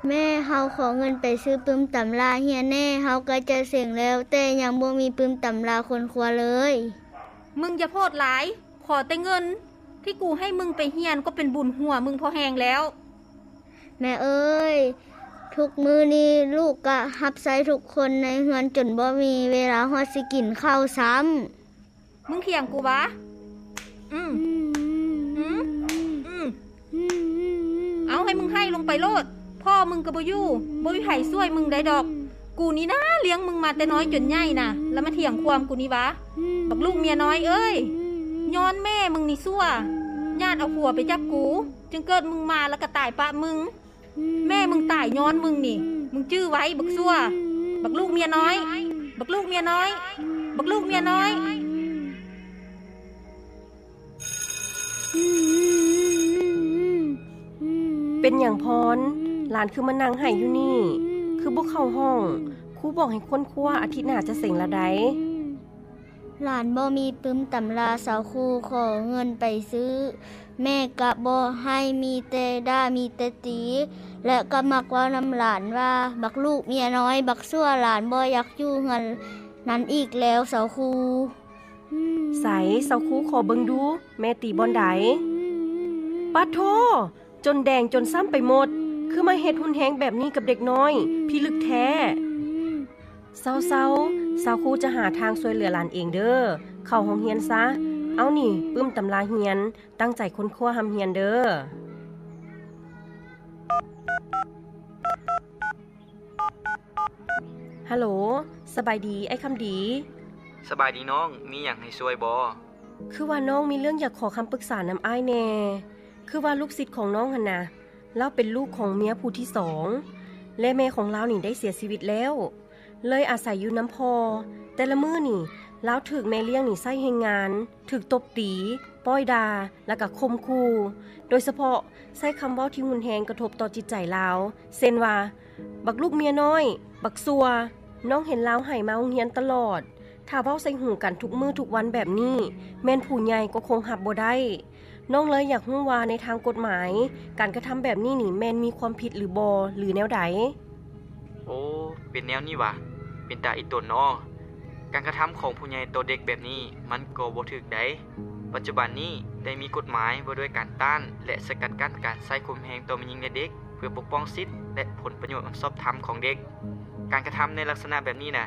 ແມ່, ເຮົາຂໍເງິນໄປຊື້ປຶ້ມຕຳລາຮຽນແດ່, ເຮົາໃກ້ຈະເສັງແລ້ວ, ແຕ່ຍັງບໍ່ມີປຶ້ມຕຳລາຄົ້ນຄວ້າເລີຍ. ມຶງຢ່າໂພດຫຼາຍ, ຂໍແຕ່ເງິນທີ່ກູໃຫ້ມຶງໄປຮຽນກໍເປັນບຸນຫົວມຶງພໍແຮງແລ້ວ. ແມ່ເອີຍ, ທຸກມື້ນີ້ລູກກະຮັບໃຊ້ທຸກຄົນໃນເຮືອນຈົນບໍ່ມີເວລາຮອດຊິກິນເຂົ້າຊ້ຳ. ມຶງຖຽງກູຫວາ? ອືມ ອືມ ອືມ ອືມ ເອົາ ໃຫ້ມຶງໄຫ້ລົງໄປໂລດ. ພໍ່ມຶງກໍບໍ່ຢູ່, ບໍ່ມີໃຜຊ່ວຍມຶງໄດ້ດອກ. ກູນີ້ນາລ້ຽງມຶງມາແຕ່ນ້ອຍຈົນໃຫຍ່ນະ, ແລ້ວມາຖຽງຄວາມກູນີ້ຫວາ? ບັກລູກເມຍນ້ອຍເອີຍ, ຍ້ອນແມ່ມຶງນີ້ຊົ່ວ, ຍາດເອົາຜົວໄປຈັບກູ, ຈຶ່ງເກີດມຶງມາແລ້ວກໍຕາຍປະມຶງ. ແມ່ມຶງຕາຍຍ້ອນມຶງນີ້, ມຶງຈື່ໄວ້ບັກຊົ່ວ, ບັກລູກເມຍນ້ອຍ, ບັກລູກເມຍນ້ອຍ, ບັກລູກເມຍນ້ອຍ. ເປັນຫຍັງພອນ? ຫຼານຄືມານັ່ງໄຫ້ຢູ່ນີ້, ຄືບໍ່ເຂົ້າຫ້ອງ? ຄູບອກໃຫ້ຄົ້ນຄວ້າ, ອາທິດໜ້າຈະເສັງລະໃດ. ຫຼານບໍ່ມີປຶ້ມຕຳລາ, ຊາວຄູຂໍເງິນໄປຊື້, ແມ່ກະບໍ່ໃຫ້, ມີແຕ່ດ່າ, ມີແຕ່ຕີ, ແລະ ກະມັກເວົ້ານຳຫຼານວ່າ ບັກລູກເມຍນ້ອຍ, ບັກຊົ່ວ, ຫຼານບໍ່ຢາກຢູ່ເຮືອນນັ້ນອີກແລ້ວ ຊາວຄູ. ໃສ ຊາວຄູ ຂໍເບິ່ງດູ, ແມ່ຕີບ່ອນໃດ? ປາດໂທ! ຈົນແດງຈົນຊ້ຳໄປໝົດ, ຄືມາເຮັດຮຸນແຮງແບບນີ້ກັບເດັກນ້ອຍ, ພິລຶກແທ້. ເຊົາໆ, ຊາວຄູຈະຫາທາງຊ່ວຍເຫຼືອຫຼານເອງເດີ້, ເຂົ້າໂຮງຮຽນຊະ. ເອົານີ້, ປຶ້ມຕຳລາຮຽນ, ຕັ້ງໃຈຄົ້ນຄວ້າຮ່ຳຮຽນເດີ້. ຮັລໂຫຼ, ສະບາຍດີ ອ້າຍຄຳດີ. ສະບາຍດີນ້ອງ, ມີຫຍັງໃຫ້ຊ່ວຍບໍ່? ຄືວ່ານ້ອງມີເລື່ອງຢາກຂໍຄຳປຶກສານຳອ້າຍແດ່. ຄືວ່າລູກສິດຂອງນ້ອງຫັ້ນນະ, ລາວເປັນລູກຂອງເມຍຜູ້ທີສອງ ແລະ ແມ່ຂອງລາວນີ້ໄດ້ເສຍຊີວິດແລ້ວ, ເລີຍອາໄສຢູ່ນຳພໍ່. ແຕ່ລະມື້ນີ້ ລາວຖືກແມ່ລ້ຽງນີ້ໃຊ້ແຮງງານ, ຖືກຕົບຕີ, ປ້ອຍດ່າ ແລ້ວກໍຂົ່ມຂູ່, ໂດຍສະເພາະໃຊ້ຄຳເວົ້າທີ່ຮຸນແຮງກະທົບຕໍ່ຈິດໃຈລາວ, ເຊັ່ນວ່າ ບັກລູກເມຍນ້ອຍ, ບັກຊົ່ວ. ນ້ອງເຫັນລາວໄຫ້ມາໂຮງຮຽນຕະຫຼອດ. ຖ້າເວົ້າໃສ່ຫູກັນທຸກມື້ທຸກວັນແບບນີ້, ແມ່ນຜູ້ໃຫຍ່ກໍຄົງຮັບບໍ່ໄດ້. ນ້ອງເລີຍຢາກຮູ້ວ່າໃນທາງກົດໝາຍ, ການກະທຳແບບນີ້ນີ້ແມ່ນມີຄວາມຜິດຫຼືບໍ່ ຫຼືແນວໃດ? ໂອ້, ເປັນແນວນີ້ຫວາ? ເປັນຕາອີຕົນນໍ. ການກະທຳຂອງຜູ້ໃຫຍ່ຕໍ່ເດັກແບບນີ້ ມັນກໍບໍ່ຖືກໃດ. ປັດຈຸບັນນີ້ໄດ້ມີກົດໝາຍວ່າດ້ວຍການຕ້ານ ແລະ ສະກັດກັ້ນການໃຊ້ຄວາມແຮງຕໍ່ແມ່ຍິງ ແລະ ເດັກ ເພື່ອປົກປ້ອງສິດ ແລະ ຜົນປະໂຫຍດອັນຊອບທຳຂອງເດັກ. ການກະທຳໃນລັກສະນະແບບນີ້ນະ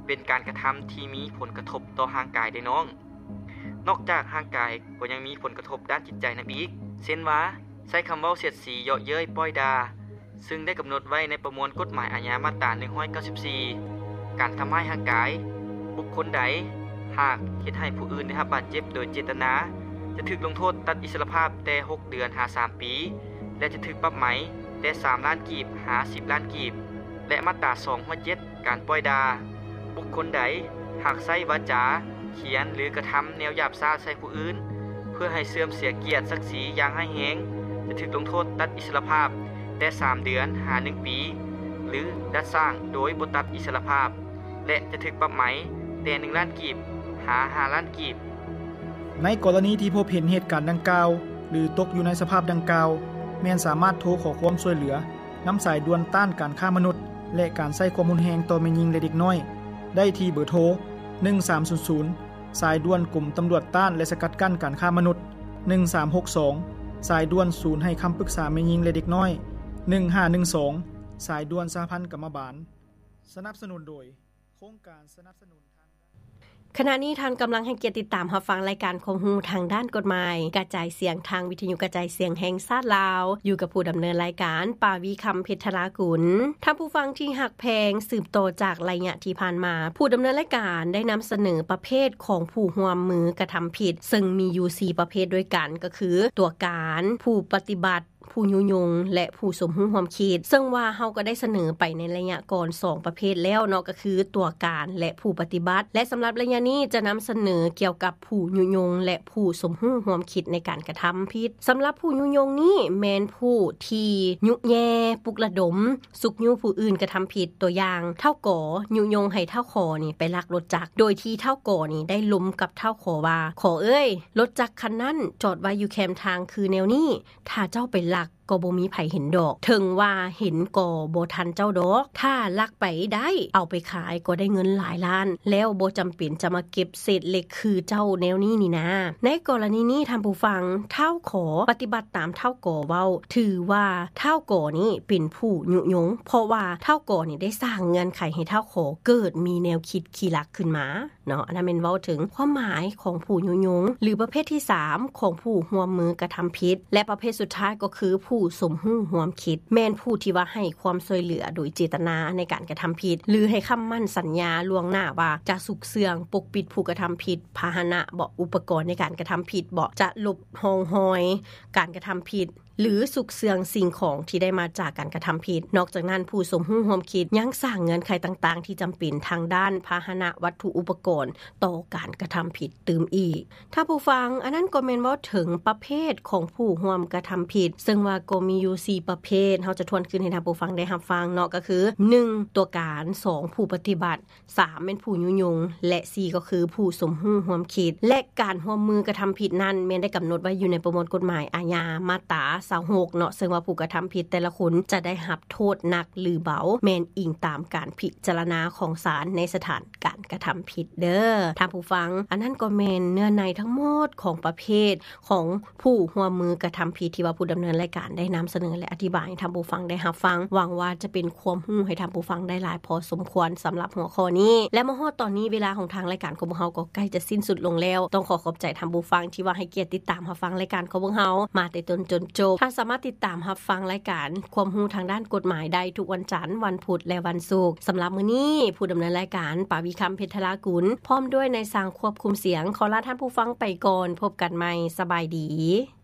ເປັນການກະທຳທີ່ມີຜົນກະທົບຕໍ່ຮ່າງກາຍເດ້ນ້ອງ. ນອກຈາກຮ່າງກາຍກໍຍັງມີຜົນກະທົບດ້ານຈິດໃຈນຳອີກ, ເຊັ່ນວ່າ ໃຊ້ຄຳເວົ້າສຽດສີ, ເຍາະເຍີ້ຍ, ປ້ອຍດ່າ, ຊຶ່ງໄດ້ກຳນົດໄວ້ໃນປະມວນກົດໝາຍອາຍາມາດຕາໜຶ່ງຮ້ອຍເກົ້າສິບສີ່ ການທຳຮ້າຍຮ່າງກາຍ. ບຸກຄົນໃດຫາກເຮັດໃຫ້ຜູ້ອື່ນໄດ້ຮັບບາດເຈັບໂດຍເຈດຕະນາ ຈະຖືກລົງໂທດຕັດອິດສະລະພາບແຕ່ຫົກເດືອນຫາສາມປີ ແລະ ຈະຖືກປັບໃໝແຕ່ສາມລ້ານກີບຫາສິບລ້ານກີບ ແລະ ມາດຕາສອງຮ້ອຍເຈັດ ການປ້ອຍດ່າ. ບຸກຄົນໃດຫາກໃຊ້ວາຈາ, ຂຽນ ຫຼື ກະທຳແນວຫຍາບຊ້າໃສ່ຜູ້ອື່ນ ເພື່ອໃຫ້ເສື່ອມເສຍກຽດສັກສີຢ່າງຮ້າຍແຮງ ຈະຖືກລົງໂທດຕັດອິດສະລະພາບແຕ່ສາມເດືອນຫາໜຶ່ງປີ ຫຼື ດັດສ້າງໂດຍບໍ່ຕັດອິດສະລະພາບ ແລະ ຈະຖືກປັບໃໝແຕ່ໜຶ່ງລ້ານກີບຫາຫ້າລ້ານກີບ. ໃນກໍລະນີທີ່ພົບເຫັນເຫດການດັ່ງກ່າວ ຫຼື ຕົກຢູ່ໃນສະພາບດັ່ງກ່າວ, ແມ່ນສາມາດໂທຂໍຄວາມຊ່ວຍເຫຼືອນຳສາຍດ່ວນຕ້ານການຄ້າມະນຸດ ແລະ ການໃຊ້ຄວາມຮຸນແຮງຕໍ່ແມ່ຍິງ ແລະ ເດັກນ້ອຍ ໄດ້ທີ່ເບີໂທ ໜຶ່ງສາມສູນສູນ, ສາຍດ່ວນກົມຕຳຫຼວດຕ້ານ ແລະ ສະກັດກັ້ນການຄ້າມະນຸດ, ໜຶ່ງສາມຫົກສອງ, ສາຍດ່ວນສູນໃຫ້ຄຳປຶກສາແມ່ຍິງ ແລະ ເດັກນ້ອຍ, ໜຶ່ງຫ້າໜຶ່ງສອງ, ສາຍດ່ວນສະຫະພັນກຳມະບານ. ສະໜັບສະໜູນໂດຍ ໂຄງການສະໜັບສະໜູນທາງດ້ານ. ຂະນະນີ້ທ່ານກຳລັງໃຫ້ກຽດຕິດຕາມຮັບຟັງລາຍການຄວາມຮູ້ທາງດ້ານກົດໝາຍ ກະຈາຍສຽງທາງວິທະຍຸກະຈາຍສຽງແຫ່ງຊາດລາວ, ຢູ່ກັບຜູ້ດຳເນີນລາຍການ ປາວີ ຄຳເພັດທະລາກຸນ. ທ່ານຜູ້ຟັງທີ່ຮັກແພງ, ສືບຕໍ່ຈາກໄລຍະທີ່ຜ່ານມາ, ຜູ້ດຳເນີນລາຍການໄດ້ນຳສະເໜີປະເພດຂອງຜູ້ຮ່ວມມືກະທຳຜິດ, ເຊິ່ງມີຢູ່ສີ່ປະເພດດ້ວຍກັນ, ກໍຄື ຕົວການ, ຜູ້ປະຕິບັດ, ຜູ້ຍຸຍົງ ແລະ ຜູ້ສົມຮູ້ຮ່ວມຄິດ, ເຊິ່ງວ່າເຮົາກໍໄດ້ສະເໜີໄປໃນໄລຍະກ່ອນສອງປະເພດແລ້ວເນາະ, ກໍຄືຕົວການ ແລະ ຜູ້ປະຕິບັດ, ແລະ ສຳລັບໄລຍະນີ້ຈະນຳສະເໜີກ່ຽວກັບຜູ້ຍຸຍົງ ແລະ ຜູ້ສົມຮູ້ຮ່ວມຄິດໃນການກະທຳຜິດ. ສຳລັບຜູ້ຍຸຍົງນີ້ແມ່ນຜູ້ທີ່ຍຸແຍ່, ປຸກລະດົມ, ຊຸກຍູ້ຜູ້ອື່ນກະທຳຜິດ. ຕົວຢ່າງ, ທ້າວ ກ ຍຸຍົງໃຫ້ທ້າວ ຂ ນີ້ໄປລັກລົດຈັກ, ໂດຍທີ່ທ້າວ ກ ນີ້ໄດ້ລົມກັບທ້າວ ຂ ວ່າ, ຂ ເອີຍ, ລົດຈັກຄັນນັ້ນຈອດໄວ້ຢູ່ແຄມທາງຄືແນວນີ້, ຖ້າເຈົ້າໄປລັກ ກໍບໍ່ມີໃຜເຫັນດອກ ເຖິງວ່າເຫັນກໍບໍ່ທັນເຈົ້າດອກ ຖ້າລັກໄປໄດ້ ເອົາໄປຂາຍກໍໄດ້ເງິນຫຼາຍລ້ານ ແລ້ວບໍ່ຈຳເປັນຈະມາເກັບເສດເຫຼັກຄືເຈົ້າແນວນີ້ນີ້ນາ. ໃນກໍລະນີນີ້ທ່ານຜູ້ຟັງ ທ້າວຂໍປະຕິບັດຕາມທ້າວກໍເວົ້າ ຖືວ່າທ້າວກໍນີ້ເປັນຜູ້ຍຸຍົງ ເພາະວ່າທ້າວກໍນີ້ໄດ້ສ້າງເງື່ອນໄຂໃຫ້ທ້າວຂໍເກີດມີແນວຄິດຂີ້ລັກຂຶ້ນມາເນາະ. ອັນນັ້ນແມ່ນເວົ້າເຖິງຄວາມໝາຍຂອງຜູ້ຍຸຍົງ ຫຼື ປະເພດທີສາມຂອງຜູ້ຮ່ວມມືກະທຳຜິດ ແລະ ປະເພດສຸດທ້າຍກໍຄືຜູ້ສົມຮູ້ຮ່ວມຄິດ ແມ່ນຜູ້ທີ່ວ່າໃຫ້ຄວາມຊ່ວຍເຫຼືອໂດຍເຈດຕະນາໃນການກະທຳຜິດ ຫຼື ໃຫ້ຄຳໝັ້ນສັນຍາລ່ວງໜ້າວ່າຈະຊຸກເຊື່ອງປົກປິດຜູ້ກະທຳຜິດ ພາຫະນະເບາະ ອຸປະກອນໃນການກະທຳຜິດເບາະ ຈະຫຼົບຮ່ອງຮອຍການກະທຳຜິດ ຫຼື ຊຸກເຊື່ອງສິ່ງຂອງທີ່ໄດ້ມາຈາກການກະທຳຜິດ. ນອກຈາກນັ້ນ ຜູ້ສົມຮູ້ຮ່ວມຄິດຍັງສ້າງເງື່ອນໄຂຕ່າງໆທີ່ຈຳເປັນທາງດ້ານພາຫະນະວັດຖຸອຸປະກອນຕໍ່ການກະທຳຜິດຕື່ມອີກ. ທ່ານຜູ້ຟັງ ອັນນັ້ນກໍແມ່ນເວົ້າເຖິງປະເພດຂອງຜູ້ຮ່ວມກະທຳຜິດ ເຊິ່ງວ່າກໍມີຢູ່ສີ່ປະເພດ ເຮົາຈະທວນຄືນໃຫ້ທ່ານຜູ້ຟັງໄດ້ຮັບຟັງເນາະ ກໍຄື ໜຶ່ງ ຕົວການ, ສອງ ຜູ້ປະຕິບັດ, ສາມ ແມ່ນຜູ້ຍຸຍົງ ແລະ ສີ່ ກໍຄືຜູ້ສົມຮູ້ຮ່ວມຄິດ ແລະ ການຮ່ວມມືກະທຳຜິດນັ້ນ ແມ່ນໄດ້ກຳນົດໄວ້ຢູ່ໃນປະມວນກົດໝາຍອາຍາມາດຕາຊາວຫົກເນາະ ເຊິ່ງວ່າຜູ້ກະທຳຜິດແຕ່ລະຄົນຈະໄດ້ຮັບໂທດໜັກ ຫຼື ເບົາ ແມ່ນອີງຕາມການພິຈາລະນາຂອງສານໃນສະຖານການກະທຳຜິດເດີທ່ານຜູ້ຟັງ. ອັນນັ້ນກໍແມ່ນເນື້ອໃນທັງໝົດຂອງປະເພດຂອງຜູ້ຮ່ວມມືກະທຳຜິດ ທີ່ວ່າຜູ້ດຳເນີນລາຍການໄດ້ນຳສະເໜີ ແລະ ອະທິບາຍໃຫ້ທ່ານຜູ້ຟັງໄດ້ຮັບຟັງ. ຫວັງວ່າຈະເປັນຄວາມຮູ້ໃຫ້ທ່ານຜູ້ຟັງໄດ້ຫຼາຍພໍສົມຄວນສຳລັບຫົວຂໍ້ນີ້ ແລະ ມາຮອດຕອນນີ້ ເວລາຂອງທາງລາຍການຂອງພວກເຮົາກໍໃກ້ຈະສິ້ນສຸດລົງແລ້ວ. ຕ້ອງຂໍຂອບໃຈທ່ານຜູ້ຟັງທີ່ວ່າໃຫ້ກຽດຕິດຕາມຮັບຟັງລາຍການຂອງພວກເຮົາມາແຕ່ຕົ້ນຈົນຈົບ. ທ່ານສາມາດຕິດຕາມຮັບຟັງລາຍການຄວາມຮູ້ທາງດ້ານກົດໝາຍໄດ້ທຸກວັນຈັນ, ວັນພຸດ ແລະ ວັນສຸກ. ສຳລັບມື້ນີ້ ຜູ້ດຳເນີນລາຍການ ປາວິຄຳ ເພັດທະລາກຸນ ພ້ອມດ້ວຍນາຍຊ່າງຄວບຄຸມສຽງ ຂໍລາທ່ານຜູ້ຟັງໄປກ່ອນ. ພົບກັນໃໝ່. ສະບາຍດີ.